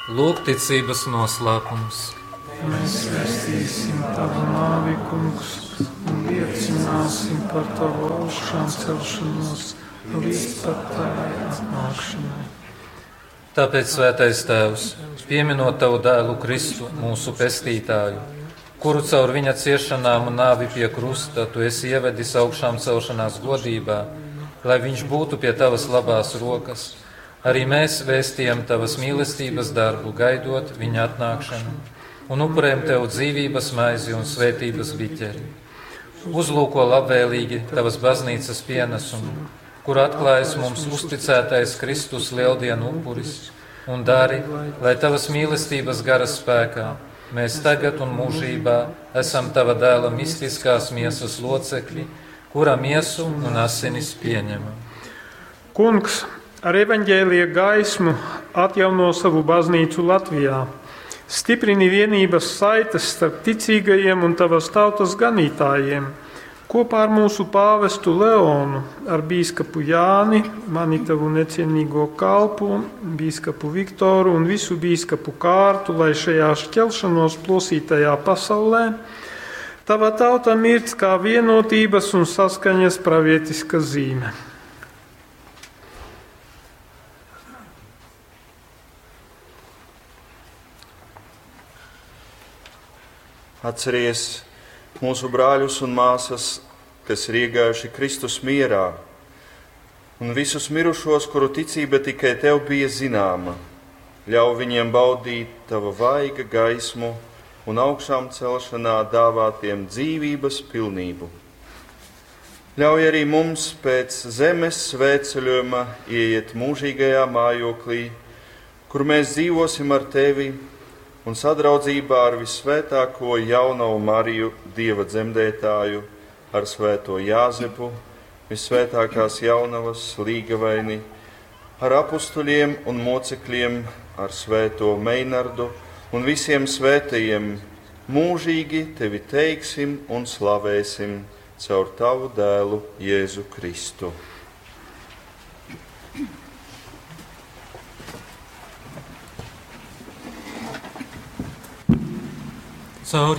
Lūk, ticības noslēpums. Mēs vēstīsim tavu nāvi, Kungs, un liecināsim par tavu augšām celšanos līdz pat tavai atnākšanai. Tāpēc, Svētais Tēvs, pieminot tavu dēlu Kristu, mūsu pestītāju, kuru caur viņa ciešanām un nāvi pie krusta tu esi ievedis augšām celšanās godībā, lai viņš būtu pie tavas labās rokas, arī mēs vēstījam tavas mīlestības darbu, gaidot viņa atnākšanu, un upurējam tev dzīvības maizi un svētības biķeri. Uzlūko labvēlīgi tavas baznīcas pienesumu, kur atklājas mums uzticētais Kristus lieldienu upuris, un dari, lai tavas mīlestības gara spēkā mēs tagad un mūžībā esam tava dēla mistiskās miesas locekļi, kura miesu un asinis pieņemam. Kungs, ar evaņģēlija gaismu atjauno savu baznīcu Latvijā. Stiprini vienības saites starp ticīgajiem un tavas tautas ganītājiem. Kopā ar mūsu pāvestu Leonu, ar bīskapu Jāni, mani tavu necienīgo kalpu, bīskapu Viktoru un visu bīskapu kārtu, lai šajā šķelšanos plosītajā pasaulē tava tauta mirdz kā vienotības un saskaņas pravietiska zīme. Atceries mūsu brāļus un māsas, kas ir iegājuši Kristus mierā, un visus mirušos, kuru ticība tikai tev bija zināma. Ļauj viņiem baudīt tava vaiga gaismu un augšām celšanā dāvātiem dzīvības pilnību. Ļauj arī mums pēc zemes svētceļojuma ieiet mūžīgajā mājoklī, kur mēs dzīvosim ar tevi un sadraudzībā ar visvētāko jaunavu Mariju, Dieva dzemdētāju, ar svēto Jāzepu, visvētākās jaunavas līgavaini, ar apustuļiem un mocekļiem, ar svēto Meinardu un visiem svētajiem, mūžīgi tevi teiksim un slavēsim caur tavu dēlu Jēzu Kristu. Caur